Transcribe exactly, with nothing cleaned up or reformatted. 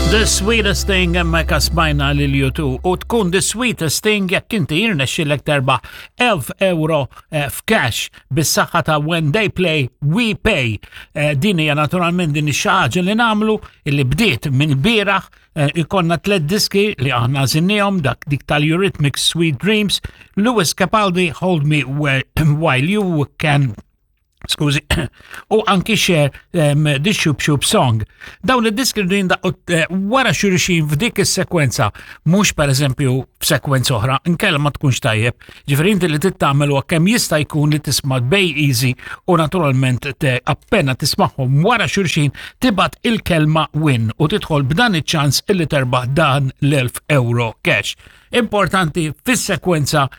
The Sweetest Thing, hemmhekk smajna lil U two u tkun The Sweetest Thing jekk inti jirnexxilek terbaħ elf euro eh, f'cash bis-saħħa ta' When They Play, We Pay. Eh, din hija naturalment din ix ħaġa li nagħmlu illi bdiet minn bieraħ. eh, ikollna tliet diski li aħna għażilnihom, dak dik tal-Eurythmics Sweet Dreams, Lewis Capaldi Hold Me Where, While You Can, skużi, u anki Cher um, The Shoop Shoop Song. Dawn id-diski rridu jindaqqu eh, wara xulxin f'dik is-sekwenza, mhux per eżempju f'sekwenza oħra, inkella ma tkunx tajjeb. Ġifieri inti li tittamel huwa kemm jista' jkun li tisma' bej easy u naturalment te appena tismagħhom wara xulxin tibgħat il-kelma "win" u tidħol b'dan iċ-ċans illi terbaħ dan l-elf euro cash. Importanti fis-sekwenza.